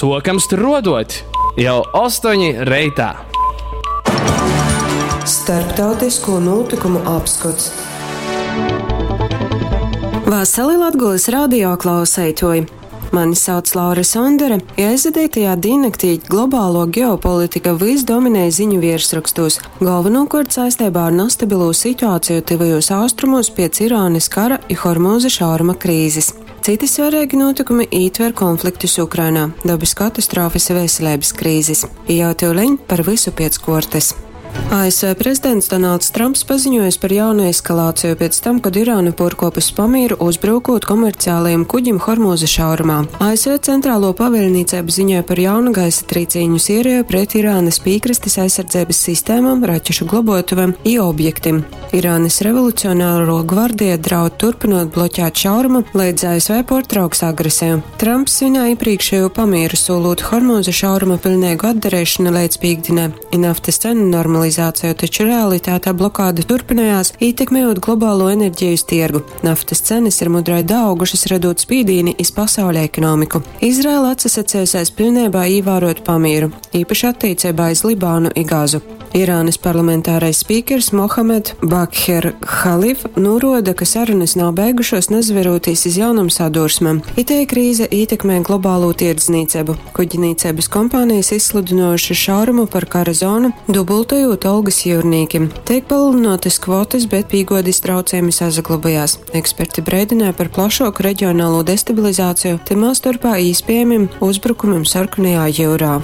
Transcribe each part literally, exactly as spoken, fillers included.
Sokam struodot jau ostoņi reitā. Starptautisko notikumu apskots. Vasali Latgulas radio klauseitoji! Mani sauc Laura Sondere, ja aizvadītajā diennaktī globālo ģeopolitika vys dominēja ziņu virsrakstos, galvenokārt saistībā ar nestabilū situāciju tuvajos austrumos piec Irānas kara i Hormūza šauruma krīzes. Citi svarīgi notikumi ietver konfliktus Ukrainā, dabas katastrofas i veselības krīzes. I jau tyuleņ par vysu piec kuortys. A S V prezidents Donalds Trumps paziņojis par jaunu eskalāciju pēc tam, kad Irāna puorkuopus pamīru, uzbrukot komerciālajiem kuģim Hormūza šaurumā. A S V centrālo pavēļnīcība ziņoja par jaunu gaisa trīcīņu sēriju pret Irānas pīkrastes aizsardzības sistēmām, raķešu globotuvēm i objektim. Irānas revolucionāro gvardija draud turpinot bloķēt šaurumu, līdz A S V portrauks agresiju. Trumps svinēja iepriekšējo pamieru, solot Hormūza šauruma pilnīgu atdarīšanu līdz pīkdienai i naftas cenu normalizāciju, taču realitātē blokāde turpinājās, ietekmējot globālo enerģijas tirgu. Naftas cenas ir mudrai daaugušas, radot spīdīni iz pasauļa ekonomiku. Izraela atsasacējusies pilnībā ievērot pamieru, īpaši attiecībā iz Libānu i Gazu. Irānas parlamentārais spīkers Mohamed Bakher Khalif noroda, ka sarunas nav beigušos, nezaverūtīs iz jaunam sadursmam. Itei krīze ietekmē globālo tirdzniecību. Kuģnīcības kompānijas izsludinojuši šaurumu par kara zonu, dubultojot algas jūrnīkim. Tiek palielinātas kvotas, bet pīgodis traucējumi sasaglabājās. Eksperti brēdināja par plašāku reģionālo destabilizāciju, timā starpā īspējamiem uzbrukumiem Sarkanajā jūrā.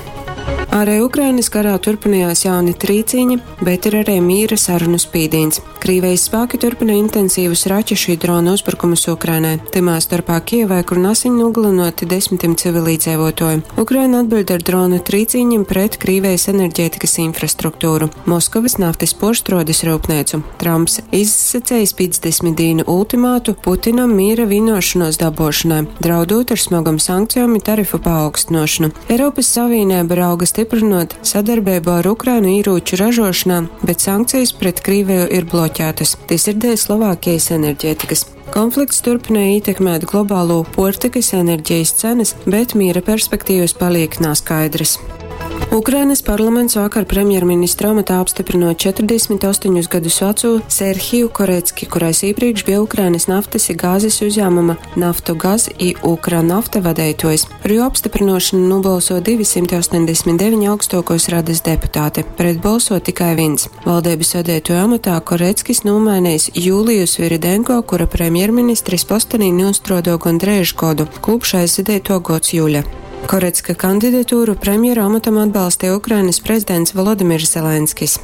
Arī Ukrainas karā turpinājās jauni trīcīņi, bet ir arī mīra sarunu spīdīns. Krīvijas spēki turpina intensīvus raķešu i dronu uzbrukumus Ukrainai, timā starpā Kijevai, kur nasiņ nogalinoti desmitiem civilīdzīvotoju. Ukraina atbild ar dronu trīcīņiem pret Krīvijas enerģētikas infrastruktūru, Moskavas naftas porštrodes rūpnīcu. Trumps izsacējis piecdesmit dienu ultimātu Putinam mīra vienošanos dabošanai, draudot ar smagam sankcijām i tarifu paaugstinošanu. Eiropas Savienība rauga stiprinot sadarbību ar Ukrainu īrūču ražošanā, bet sankcijas pret Krīviju ir bloķētas. Tas ir dēļ Slovākijas enerģētikas. Konflikts turpināja ietekmēt globālo portikas enerģijas cenas, bet miera perspektīvas paliek naskaidras. Ukrainas parlaments vakar premjerministra amatā apstiprinot četrdesmit astoņus gadus veco Serhiju Korecki, kurais iepriekš bija Ukrainas naftas i gāzes uzņēmuma Naftogaz i Ukranafta vadītājs. Par jo apstiprinošanu nobalso divi simti astoņdesmit deviņi augstākos radas deputāti, pret balso tikai viens. Valdības vadītāju amatā Koreckis nomainījis Jūliju Sviridenko, kura premjerministris postenī nostrodo gondreiž godu, kopš aizvadīto gods jūļa. Korecka kandidatūru premjera amatam atbalstīja Ukrainas prezidents Volodimirs Zelenskis.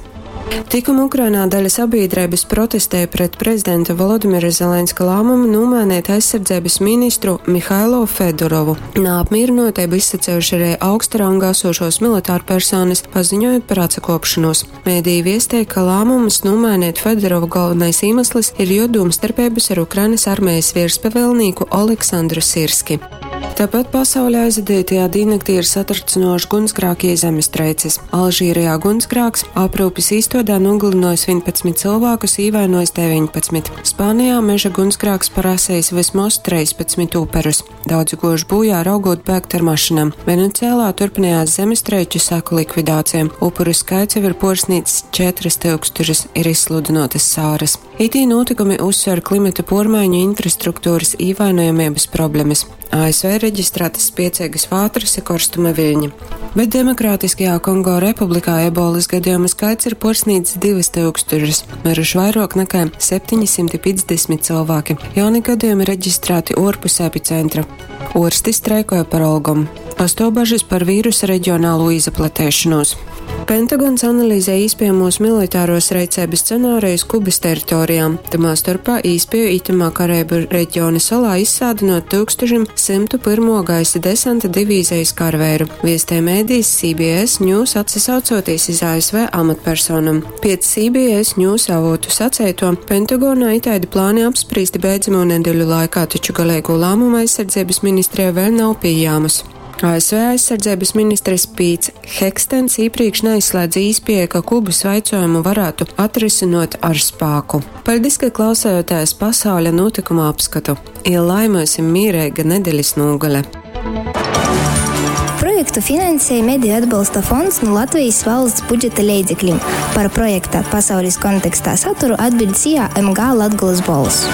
Tikuma Ukrainā daļa sabiedrības protestēja pret prezidenta Volodimira Zelenska lēmumu nomainīt aizsardzības ministru Mihailo Fedorovu. Neapmierinotību izsacējuši arī augsta ranga esošos militāru personas, paziņojot par atsakopšanos. Mēdī viestēja, ka lēmums nomainīt Fedorovu galvenais iemesls ir jo domstarpības ar Ukrainas armijas virspavēlnieku Oleksandru Sirski. Tāpat pasaulē aizvadītajā diennaktī ir satricinoši gunsgrāki zemestrēces. Alžīrijā gunsgrāks aprūpes īstodā nogalinojis vienpadsmit cilvēkus, īvainojis deviņpadsmit. Spānijā meža gunsgrāks parasējis vismaz trīspadsmit uperus. Daudzi goši bojā raugot bēgt ar mašīnām. Venecijā turpinājās zemestrēču seku likvidācija. Upuru skaits jau ir porsnīts četras tūkstošus, ir izsludinotas sāras. Itī notikumi uzsver klimata pormaiņu infrastruktūras īvainojamības problēmas. A S V reģistrētas spiecīgas vātras i korstuma viļņi. Bet Demokrātiskajā Kongo republikā ebolas gadījumu skaits ir porsnīts divas tūkstošus, miruši vairāk nekā septiņi simti piecdesmit cilvēki. Jauni gadījumi reģistrēti orpus epicentra. Orsti streikoja par algom. Pastāv bažas par vīrusa reģionālo izplatēšanos. Pentagons analizē īspējamos militāros reicības scenārijus Kubas teritorijām. Tamā starpā īspēju itamā Karēbu reģiona salā izsādinot tūkstoš simt pirmo gaisa desanta divīzijas karavēru. Viestē mēdījis C B S News, atsasaucoties iz A S V amatpersonam. Pēc C B S News avotu sacēto, Pentagonā itaidi plāni apspriesti beidzamo nedēļu laikā, taču galīgo lēmumu aizsardzības ministrijā vēl nav pieejams. A S V aizsardzības ministrs Pīts Hegstens iepriekš neizslēdz īspēju, ka Kubas vaicojumu varētu atrisinot ar spāku. Paldies, ka klausējāties pasauļa notikuma apskatu. I lai myusim mīreiga nedeļas nūgale. Projekts Projektu finansej Mediju atbalsta fonds nu Latvejis valsts budžeta leidzeklim. Par projekta Pasaulis kontekstā saturu atbiļd S I A M G Latgolys Bolss.